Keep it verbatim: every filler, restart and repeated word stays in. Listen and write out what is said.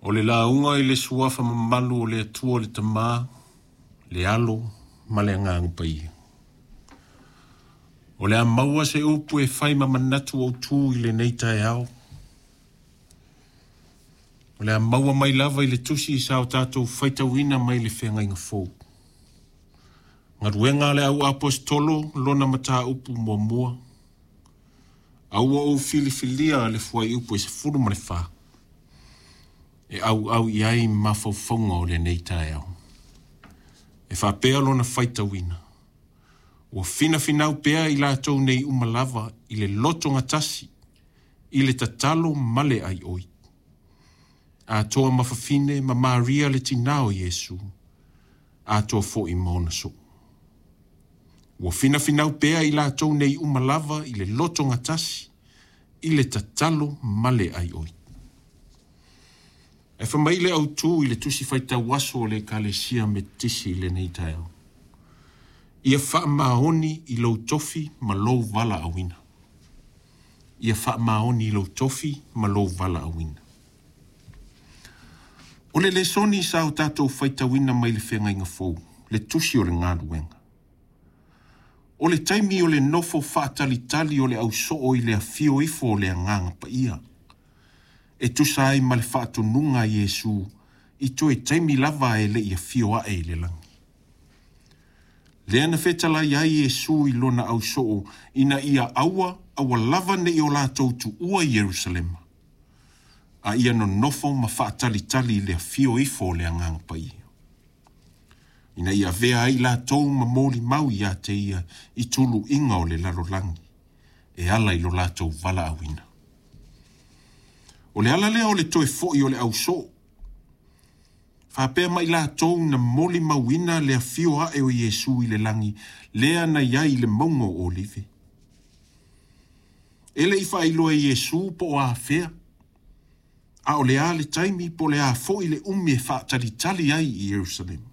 O le lauga i le suafa mamalu o le Atua le Tama, le Alo ma le Agaga Paia. O le a maua se upu e fai ma manatu autu i lenei taeao. O le a maua mai lava i le tusi sa o tatou faitauina mai le feagaiga fou. Galuega a le au aposetolo lona mataupu muamua. A ua ou filifilia le fuaiupu e sefulu ma le fa. E auau i ai mafaufauga o lenei taeao. E faapea lona faitauina. Ua finafinau pea i latou nei uma lava i le lotogatasi, i le tatalo ma le aioi. Atoa ma fafine ma Maria le tinā o Iesu, atoa foi ma ona soo. Ua finafinau pea i latou nei uma lava i le lotogatasi, i le tatalo ma le aioi. E fai mai le autu i le tusi faitau aso o le Ekalesia Metotisi i lenei taeao. Ia faamaoni i lou tofi ma lou valaauina. Ia faamaoni i lou tofi ma lou valaauina. O le lesoni sa o tatou faitauina mai le feagaiga fou, le tusi o le galuega. O le taimi o le nofo faatalitali o le ausoo i le afio ifo o le Agaga Paia. E tusa ai ma le faatonuga a Iesu i toe taimi lava e le i afio ae i le lagi. Lea na fetalai ai Iesu i lona ausoo ina ia aua, aua lava ne i o latou tuua Ierusalema, a ia nonofo ma faatalitali i le afio ifo o le Agaga Paia. Ina ia avea ai latou ma molimau ia te ia i tuluiga o le lalolagi, e ala i lo latou valaauina. O le ala lea o le toe foi o le ausoo. Faapea mai latou na molimauina le afio ae o Iesu i le lagi, lea na i ai i le mauga o Olive. E le i faailoa e Iesu po o afea, a o le a le taimi po o le a foi le umi e faatalitali ai i Ierusalema.